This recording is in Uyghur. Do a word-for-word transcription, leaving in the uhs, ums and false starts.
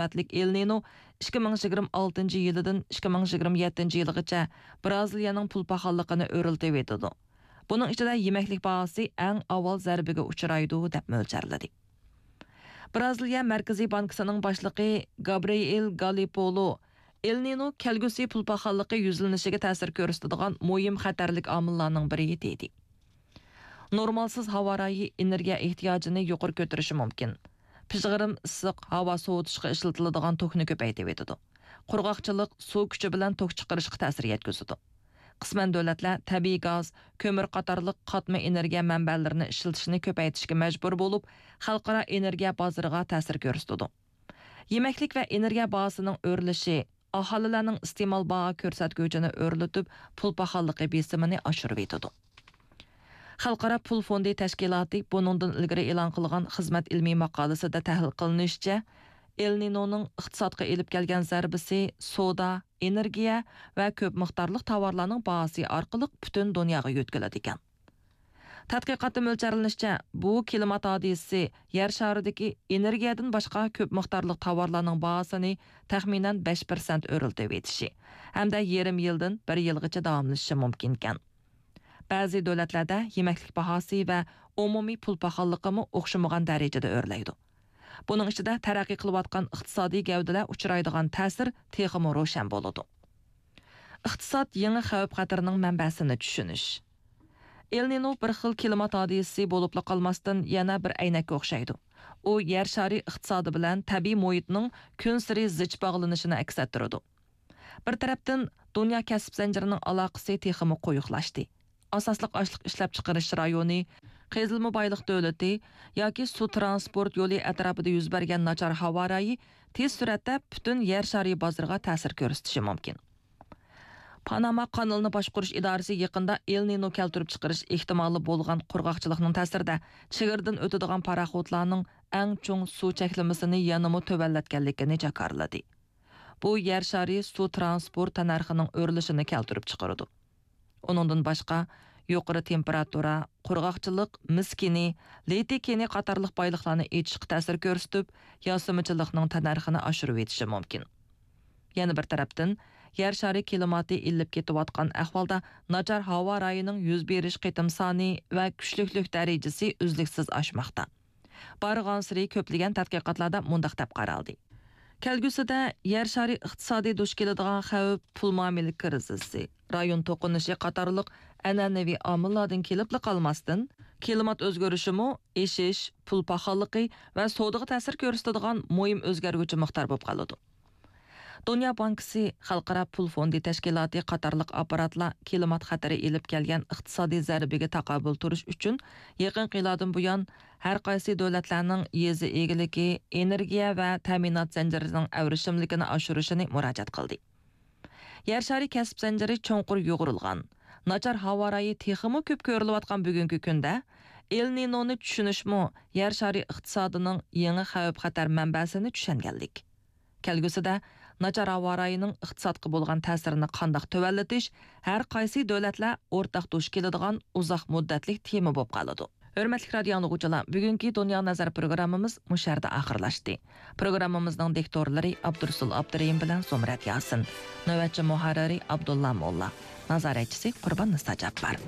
قىممەتلىك ئېل نىنو ئىككى مىڭ يىگىرمە ئالتىنچى يىلىدىن ئىككى مىڭ يىگىرمە يەتتىنچى يىلىغىچە برازىلىيەنىڭ پۇل پاخاللىقىنى ئۆرلىتىۋېتىدۇ. بۇنىڭ ئىچىدە يېمەكلىك باھاسى ئەڭ ئاۋۋال زەربىگە ئۇچرايدۇ، دەپ مۆلچەرلىدى. برازىلىيە مەركىزىي بانكىسىنىڭ باشلىقى گابرىئېل گالىپولو ئېل نىنو كەلگۈسى پۇل پاخاللىقى يۈزلىنىشىگە تەسىر كۆرسىتىدىغان مۇھىم خەتەرلىك ئامىللارنىڭ بىرى، دېدى. نورمالسىز ھاۋا رايى ئېنېرگىيە ئېھتىياجىنى يۇقىرى كۆتۈرۈشى مۇمكىن. پىژغىرىم ئىسسىق ھاۋا سوۋۇتۇشقا ئىشلىتىلىدىغان توكنى كۆپەيتىۋېتىدۇ. قۇرغاقچىلىق سۇ كۈچى بىلەن توك چىقىرىشقا تەسىر يەتكۈزىدۇ. قىسمەن دۆلەتلەر تەبىئىي گاز، كۆمۈر قاتارلىق قاتما ئېنېرگىيە مەنبەلىرىنى ئىشلىتىشنى كۆپەيتىشكە مەجبۇر بولۇپ، خەلقئارا ئېنېرگىيە بازىرىغا تەسىر كۆرسىتىدۇ. يېمەكلىك ۋە ئېنېرگىيە باھاسىنىڭ ئۆرلىشى ئاھالىلەرنىڭ ئىستېمال باھا كۆرسەتكۈچىنى ئۆرلىتىپ، پۇل پاخاللىقى بېسىمىنى ئاشۇرۇۋېتىدۇ. خەلقئارا پۇل فوندى تەشكىلاتى بۇنىڭدىن ئىلگىرى ئېلان قىلغان خىزمەت ئىلمىي ماقالىسىدە تەھلىل قىلىنىشىچە، ئېل نىنونىڭ ئىقتىسادقا ئېلىپ كەلگەن زەربىسى سودا، ئېنېرگىيە ۋە كۆپ مىقدارلىق تاۋارلارنىڭ باھاسى ئارقىلىق پۈتۈن دۇنياغا يۆتكىلىدىكەن. تەتقىقاتتا مۆلچەرلىنىشىچە، بۇ كىلىمات ھادىسىسى يەر شارىدىكى ئېنېرگىيەدىن باشقا كۆپ مىقدارلىق تاۋارلارنىڭ باھاسىنى تەخمىنەن بەش پىرسەنت ئۆرلىتىۋېتىشى ھەمدە يېرىم يىلدىن بىر يىلغىچە داۋاملىشىشى مۇمكىنكەن. بەزى دۆلەتلەردە يېمەكلىك باھاسى ۋە ئومۇمىي پۇل پاخاللىقىمۇ ئوخشىمىغان دەرىجىدە ئۆرلەيدۇ. بۇنىڭ ئىچىدە تەرەققىي قىلىۋاتقان ئىقتىسادىي گەۋدىلەر ئۇچرايدىغان تەسىر تېخىمۇ روشەن بولىدۇ. ئىقتىساد يېڭى خەۋپ خەتىرىنىڭ مەنبەسىنى چۈشىنىش. ئېل نىنو بىر خىل كىلىمات ھادىسىسى بولۇپلا قالماستىن، يەنە بىر ئەينەككە ئوخشايدۇ. ئۇ يەر شارى ئىقتىسادى بىلەن تەبىئىي مۇھىتنىڭ كۈنسېرى زىچ باغلىنىشىنى ئەكس ئەتتۈرىدۇ. بىر تەرەپتىن، دۇنيا كەسىپ زەنجىرىنىڭ ئالاقىسى تېخىمۇ قويۇقلاشتى. ئاساسلىق ئاشلىق ئىشلەپچىقىرىش رايونى، قېزىلما بايلىق دۆلىتى ياكى سۇ ترانسپورت يولى ئەتراپىدا يۈز بەرگەن ناچار ھاۋا رايى تېز سۈرئەتتە پۈتۈن يەر شارى بازىرىغا تەسىر كۆرسىتىشى مۇمكىن. پاناما قانىلىنى باشقۇرۇش ئىدارىسى يېقىندا ئېل نىنو كەلتۈرۈپ چىقىرىش ئېھتىمالى بولغان قۇرغاقچىلىقنىڭ تەسىرىدە چېگرىدىن ئۆتىدىغان پاراخوتلارنىڭ ئەڭ چوڭ سۇ چەكلىمىسىنى يەنىمۇ تۆۋەنلەتكەنلىكىنى جاكارلىدى. بۇ يەر شارى سۇ ترانسپورت تەننەرخىنىڭ ئۆرلىشىنى كەلتۈرۈپ چىقىرىدۇ. ئۇنىڭدىن باشقا، يۇقىرى تېمپېراتۇرا، قۇرغاقچىلىق، مىس كېنى، لىتىي كېنى قاتارلىق بايلىقلارنى ئېچىشقا تەسىر كۆرسىتىپ، ياسىمىچىلىقنىڭ تەننەرخىنى ئاشۇرۇۋېتىشى مۇمكىن. يەنە بىر تەرەپتىن، يەر شارى كىلىماتى ئىللىپ كېتىۋاتقان ئەھۋالدا، ناچار ھاۋا رايىنىڭ يۈز بېرىش قېتىم سانى ۋە كۈچلۈكلۈك دەرىجىسى ئۈزلۈكسىز ئاشماقتا. بارغانسېرى كۆپلىگەن تەتقىقاتلاردا مۇنداق دەپ قارالدى: كەلگۈسىدە يەر شارى ئىقتىسادى دۇچ كېلىدىغان خەۋپ پۇل مۇئامىلە كىرىزىسى، رايون توقۇنۇشى قاتارلىق ئەنئەنىۋى ئامىللاردىن كېلىپلا قالماستىن، كىلىمات ئۆزگىرىشىمۇ ئېشىش، پۇل پاخاللىقى ۋە سودىغا تەسىر كۆرسىتىدىغان مۇھىم ئۆزگەرگۈچى مىقدار بولۇپ قالىدۇ. دۇنيا بانكىسى، خەلقئارا پۇل فوندى تەشكىلاتى قاتارلىق ئاپپاراتلار كىلىمات خەتىرى ئېلىپ كەلگەن ئىقتىسادىي زەربىگە تاقابىل تۇرۇش ئۈچۈن يېقىنقى يىلاردىن بۇيان ھەر قايسى دۆلەتلەرنىڭ يېزا ئىگىلىكى، ئېنېرگىيە ۋە تەمىنات زەنجىرىنىڭ ئەۋرىشىملىكىنى ئاشۇرۇشىنى مۇراجىئەت قىلدى. يەر شارى كەسىپ زەنجىرى چوڭقۇر يۇغۇرۇلغان، ناچار ھاۋا رايى تېخىمۇ كۆپ كۆرۈلۈۋاتقان بۈگۈنكى كۈندە، ئېل نىنونى چۈشىنىشمۇ يەر شارى ئىقتىسادىنىڭ يېڭى خەۋپ-خەتەر مەنبەسىنى چۈشەنگەنلىك. كەلگۈسىدە ناچار ھاۋا رايىنىڭ ئىقتىسادقا بولغان تەسىرىنى قانداق تۆۋەنلىتىش ھەر قايسى دۆلەتلەر ئورتاق دۇچ كېلىدىغان ئۇزاق مۇددەتلىك تېما بولۇپ قالىدۇ. ھۆرمەتلىك رادىئو ئاڭلىغۇچىلار، بۈگۈنكى دۇنيا نەزەر پروگراممىمىز مۇشۇ يەردە ئاخىرلاشتى. پروگراممىمىزنىڭ دىكتورلىرى ئابدۇرۇسۇل ئابدۇرېھىم بىلەن زۇمرەت ياسىن، نۆۋەتچى مۇھەررىرى ئابدۇللا موللا، نازارەتچىسى قۇربان نىسا جاپپار.